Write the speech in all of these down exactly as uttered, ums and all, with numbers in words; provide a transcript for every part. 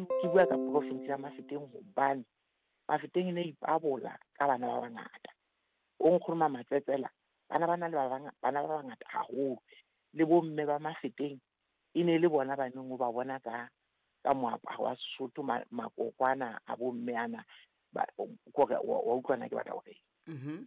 ke ke bua ka province ya Mafeteng hobane Mafeteng e ne ipabola ka bana ba bangata. O nkgono Matsetsela bana ba na le ba bang bana ba bangata haholo. Le bomme ba Mafeteng e ne le bona ba neng o ba bona ka ka moaparo wa Sesotho, makokwana a bomme ana ba kore wa utlwana ke batla hore. Mhm.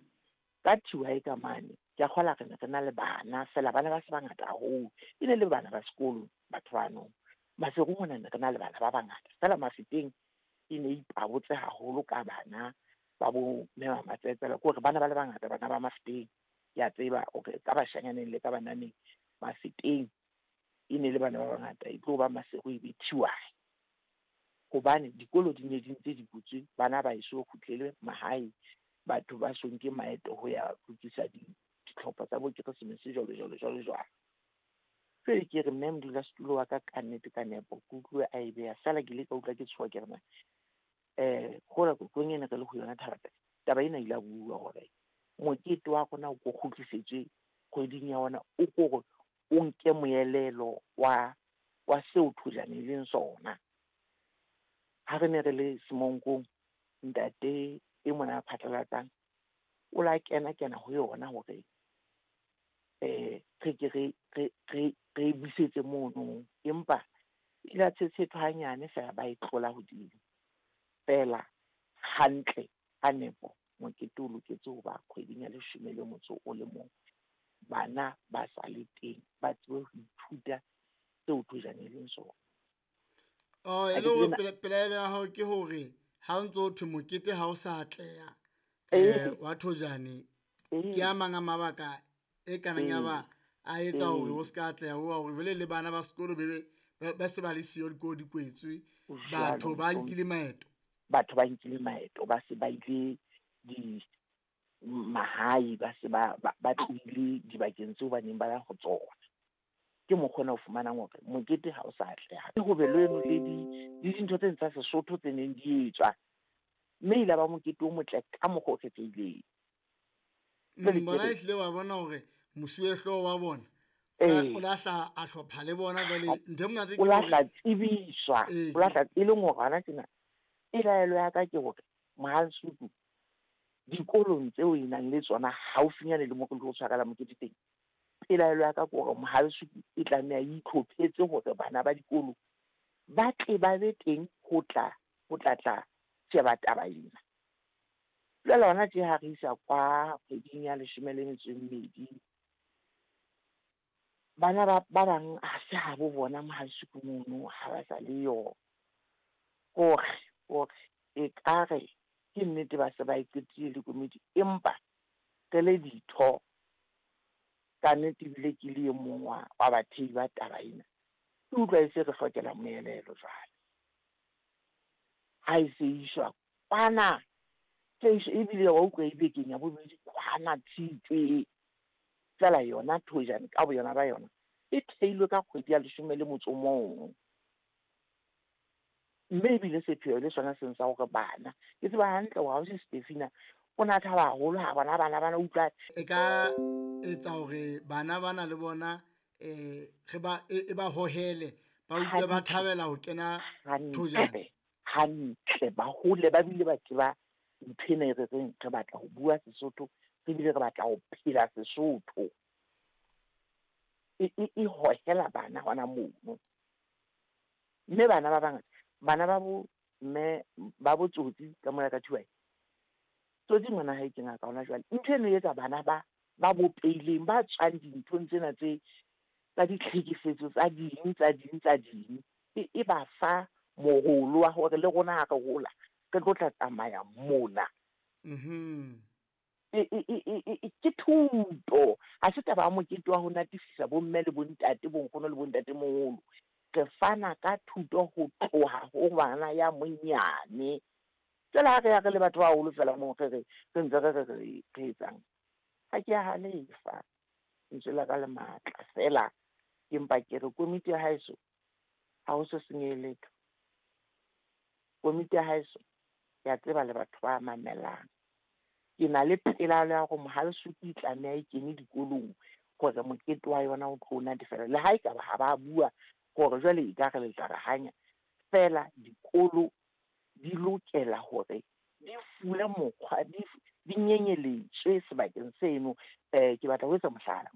Ka thiwa e ka mane ke a kgola re ne re na le bana fela bana ba se bangata haholo. E ne le bana ba sekolo batho bano. Maseru mona ne re na le bana ba bangata fela Mafeteng e ne ipabotse haholo ka bana ba bo mme ba Matsetsela, ke hore bana ba le bangata bana ba Mafeteng. Ke a tseba hore ka bashanyaneng le ka bananeng Mafeteng e ne le bana ba bangata, e tlo ba Maseru e be Thiwae. Hobane dikolo di ne di ntse di butswe, bana ba eso kgutlele mahae, batho ba so nke maeto ho ya lokisa ditlhopha tsa bo Keresemese jwalo jwalo jwalo jwalo. Jwale ke re mme modulasetulo wa ka ka nnete ka nepo ke utlwe a e beha fela, ke ile ka utlwa ke tshoha ke re na eh hola kotlong ene re le ho yona taba taba ena ile a bua hore mokete wa rona o ko kgutlisetswe kgweding ya ona, o kore o nke moelelo wa wa seo thojane e leng sona. Ha re ne re le Semonkong, ntate e mona a phatlalatsang o la kena kena ho yona hore eh re ke re re re re busetse mono, empa ile a tshetshethwa hanyane fela ba e tlola hodimo. Fela hantle ka nepo mokete o loketse ho ba kgweding ya leshome le motso o le mong, bana ba sa le teng ba tsebe ho ithuta seo thojane e leng sona. Oh, e le hore pelaelo ya hao ke hore ha o ntso thwe mokete ha o sa atleha eh wa thojane, ke a mang a mabaka e kanang ya ba a etsa hore o ska atleha ho hore vele le bana ba sekolo be ba se ba le siyo dikolo di kwetswe, batho ba nkile maeto, batho ba nkile maeto, ba se ba ile di mahae, ba se ba ba tlohile dibakeng tseo ba neng ba ya ho tsona. Ke mokgwa o fumanang hore mokete ha o sa atleha. Ho be le eno le di le dintho tse tsa Sesotho tse neng di etswa, mme ile ba mokete o motle ka mokgwa o kgethehileng. Bona ehlile wa bona hore mosuwehlooho wa bona o lahla a hlopha le bona jwale ntho e monate ke o lahla tsebiswa, o lahla e leng hore hona tjena pelaelo ya ka ke hore Mohalesuku dikolong tseo e nang le tsona haufinyane le mo re tlo tshwarela mokete teng, pelaelo ya ka ke hore Mohalesuku e tlameha e itlhophetse hore bana ba dikolo ba tle ba be teng ho tla ho tla tla sheba taba ena. Jwale hona tje ha re isa kwa kgweding ya leshome le metso e mmedi, bana ba ba bang ha se ha bo bona Mohalesuku mono, ha ba sa le yo. Hore hore ekare ke nnete ba se ba e qetile le komiti, empa re le ditho ka nnete ebile ke le e mong wa wa bathehi ba taba ena, ke utlwa e se re hlokela moelelo jwale. Ha e se iswa kwana, ebile wa utlwa e bekeng ya bobedi kwana Tshitwe. Fela yona thojane ka boyona ba yona e theilwe ka kgwedi ya leshome le motso o mong. Mme ebile sepheo le sona seng sa hore bana, ke tseba hantle hore ausi Stefina o na thaba haholo ha bona bana bana utlwa e ka etsa hore bana bana le bona eh re ba e ba hohele, ba utlwe ba thabela ho kena thojane hantle, ba hole ba bile ba tseba ntho ena e re reng re batla ho bua Sesotho, re bile re batla ho phela Sesotho. E e e hohela bana hona mono. Mme bana ba bangata, bana ba bo mme ba bo Tsotsi ka mona ka Thiwae, Tsotsi ngwana hae ke ngaka hona jwale. Ntho eno e etsa bana ba ba bopeileng, ba tswang dinthong tsena tse tsa ditlhekefetso tsa ding tsa ding tsa ding, e e ba fa moholo wa hore le rona ha re hola re tlo tla tsamaya mona. Mhm. E e e e ke thuto, ha se taba ya mokete wa ho natefisa bomme le bontate, bonkgono le bontate moholo. Re fana ka thuto ho tloha ho ngwana ya monyane. Jwale ha re ya re le batho ba baholo fela moo re re re ntse re re re re etsang, ha ke a halefa, lentswe la ka le matla fela, empa ke re komiti ya haeso ha ho so senyehe letho. Komiti ya haeso ke a tseba le batho ba mamelang. Ke na le pelaelo ya hore Mohalesuku e tlameha e kene dikolong hore mokete wa yona o tlo natefela. Le ha ekaba ha ba bua hore jwale ekare le tla re hanya, Feela dikolo di lokela hore di fuwe mokgwa, di di nyenyeletswe sebakeng seno. Eh ke batla ho etsa mohlala.